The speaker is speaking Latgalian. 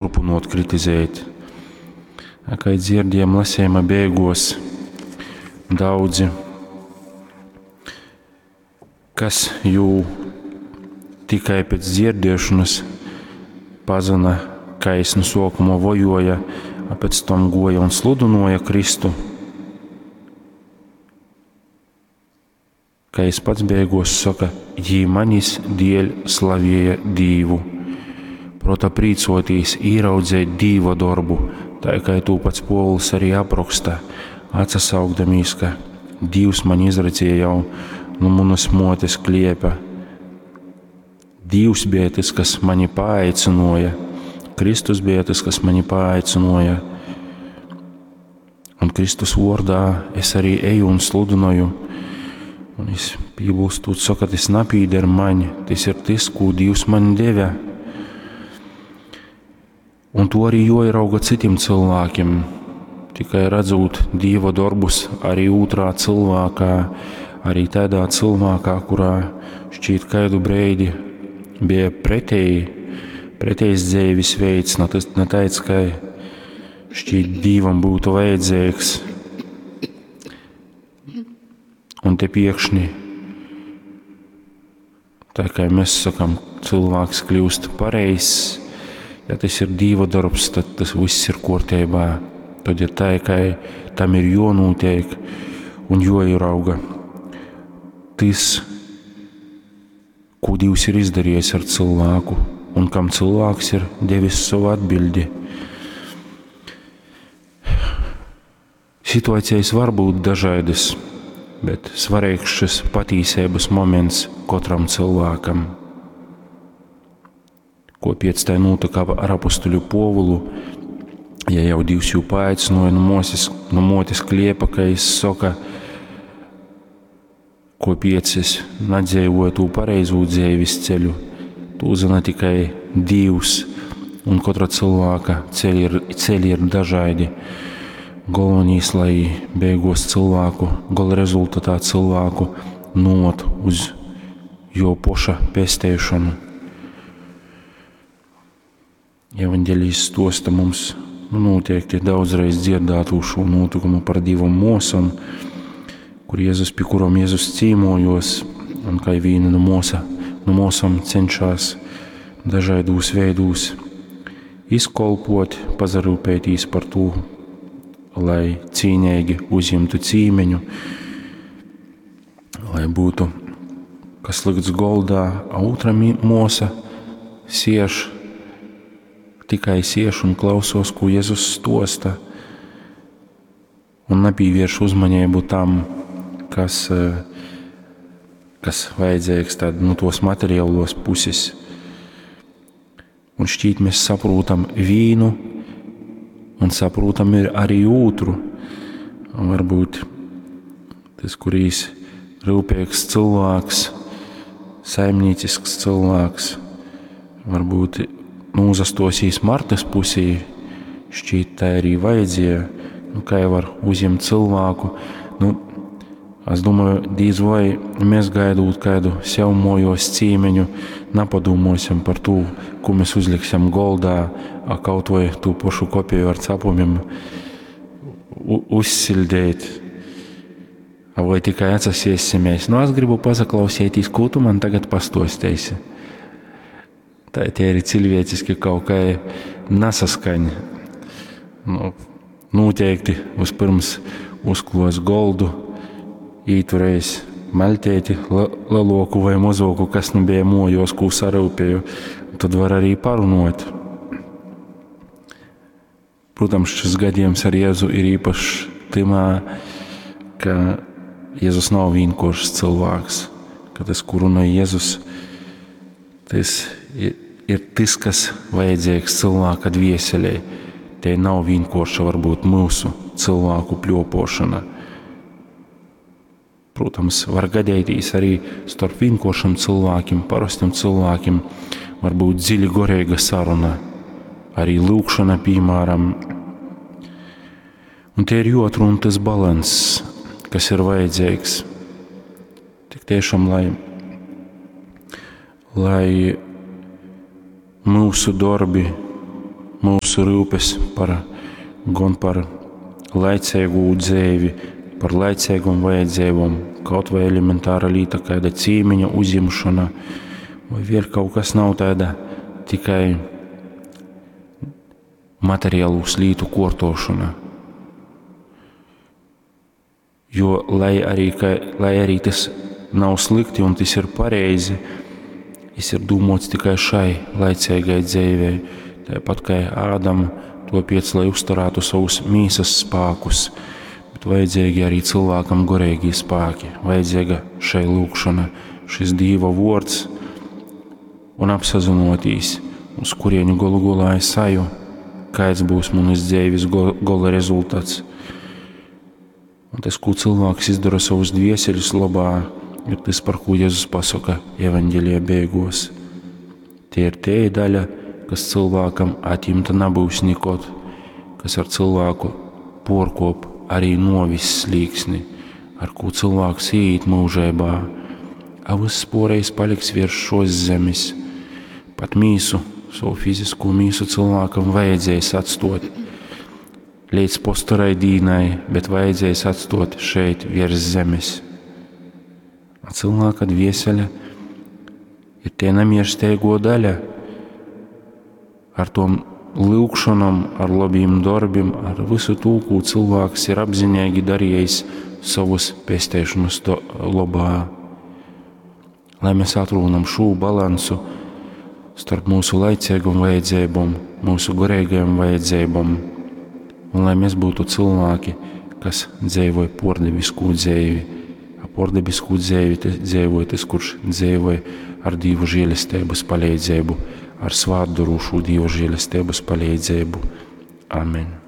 Turpynuot kritizēt. A kai dzierdiejom lasejuma beiguos, daudzi, kas jū tikai pēc dzierdiešonys pazyna, kai jis nu suokuma vojuoja, a pec tam guoja un sludynuoja Kristu, kai jis pats beiguos soka, jī manis dieļ slavieja Dīvu. Prota prīcuotīs, īraudzeit Dīva dorbu, tai kai tū pats Puovuls arī aproksta, atsasaukdamīs, ka Dīvs mani izredzēja jau nu munys muotes kliepa. Dīvs beja tys, kas mani paaicynuoja, Kristus beja tys, kas mani paaicynuoja. Un Kristus vuordā es arī eju un sludynoju. Un es pībulstūt soka, tys napīder maņ, tys ir tys, kū Dīvs maņ deve. Un to arī juoierauga cytim cylvākim. Tikai radzūt Dīva dorbus arī ūtrā cylvākā, arī tādā cylvākā, kurā šķīt kaidu breidi bija preteji, pretejs dzeivis veids, na, tas, na taids, kai šķīt Dīvam būtu vajadzīgs. Un te piekšņi, tā kā mēs sakam, cilvēks kļūst pareizs, ja tas ir Dīva darbs, tad tas viss ir kārtībā. Tad ir tā, ka tam ir jonūtiek un joierauga tas, ko Dievs ir izdarījis ar cilvēku un kam cilvēks ir devis savu atbildi. Situācijas var būt dažādas, bet svarīgs šis patīsības moments katram cilvēkam. Ko pēc tā notika ar apustuļu Povulu, ja jau Dievs jū paaicināja no, moses, no motes kliepa, ka jis saka, ko piec es nadzēvoju tū pareizū dzēvis ceļu, tū zina tikai Dievs, un katra cilvēka ceļi ir, ceļi ir dažādi. Galvenais, lai beigos cilvēku, gala rezultatā cilvēku not uz jo poša pesteišanu. Evanģelijs stosta mums nu, noteikti daudzreiz dzirdētu šo notikumu par divom mosom, kur Jēzus, pie kurom Jēzus cīmojos, un kā vīna no, mosa, no mosom cenšās dažādos veidūs izkolpot, pazarūpētīs par to, lai cīnīgi uzņemtu cīmeņu, lai būtu kas likts goldā, a otra mosa sieš, tikai sieš un klausos, ko Jēzus stosta, un nepievērš uzmanību tam, kas, kas vajadzīgs tad, nu, tos materiālos puses. Un šķīt mēs saprotam vīnu un saprotam ir arī otru. Un varbūt tas, kurīs rūpīgs cilvēks, saimniecisks cilvēks, varbūt nūzastosīs Martas pusī, šķīt tā arī vajadzēja, nu, kā jau var uzņemt cilvēku. Nu, es domāju, dīz vai mēs gaidot kādu sev mojos cīmeņu, napadūmosim par to, ko mēs uzliksim goldā, a kaut vai tū pašu kopiju ar cepumiem uzsildēt. A vai tikai atsasiesimies? Nu, es gribu pasaklausīties, ko tu man tagad pastostēsi. Tā tie ir cilvēciski kaut kā nesaskaņa. Nu, noteikti vispirms uzklos goldu, īturējis maļtēti leloku vai mozoku, kas nu bija mojos, ko sarūpēju, tad var arī parunot. Protams, šis gadījums ar Jēzu ir īpašs timā, ka Jēzus nav vienkāršs cilvēks, ka tas, ko runā Jēzus, tas ir tas, kas vajadzīgs cilvēka dvieselē. Te nav vienkārša varbūt mūsu cilvēku pļopošana. Protams, var gadīties arī starp vienkāršiem cilvēkiem, parastiem cilvēkiem, var būt dziļi gorīga saruna, arī lūkšana, piemēram. Un te ir jāatrod tas balanss, kas ir vajadzīgs. Tik tiešām, lai, lai mūsu darbi, mūsu ryupes par, gon par laicīgu dzeivi, par laicīgom vajadzībām, kaut vai elementāra līta, kāda cīmiņa uzņemšana, vai vēl kaut kas nav tāda tikai materiālūs lītu kortošana. Jo, lai arī, ka, lai arī tas nav slikti un tas ir pareizi, tas ir domāts tikai šai laicīgai dzīvei. Tāpat kā Ādam, topiec, lai uzturētu savus mīsas spēkus, bet vajadzīgi arī cilvēkam gorīgi spēki, vajadzīga šai lūkšana, šis Dīva vārds un apsazinoties, uz kurieni golu golā es aju, kāds būs manas dzīves gola rezultāts. Un tas, ko cilvēks izdara savus dvieseļus labā, ir tas, par ko Jēzus pasaka evaņģēlijā beigos. Tie ir tie daļa, kas cilvēkam atņemta nebūs nekad, kas ar cilvēku porkop arī novis slīksni, ar ko cilvēks iet mūžībā, a viss poreiz paliks virs šos zemes. Pat mīsu, savu fizisko mīsu cilvēkam vajadzēs atstot līdz postorai dīnai, bet vajadzēs atstot šeit virs zemes. A cilvēka dvieseļa ir tie nemiersteigo daļa ar tom lūgšanām, ar labiem darbiem, ar visu to, ko cilvēks ir apzinīgi darījis savas pestēšanas labā. Lai mēs atrunam šo balansu starp mūsu laicīgām vajadzībām, mūsu garīgajām vajadzībām, un lai mēs būtu cilvēki, kas dzīvoja pordevisku dzīvi. A pordevisku dzīvi dzīvoja tas, kurš dzīvoja ar Dievu žēlestības palīdzību, ar svātdorošu Dieva žēlestības palīdzību. Amen.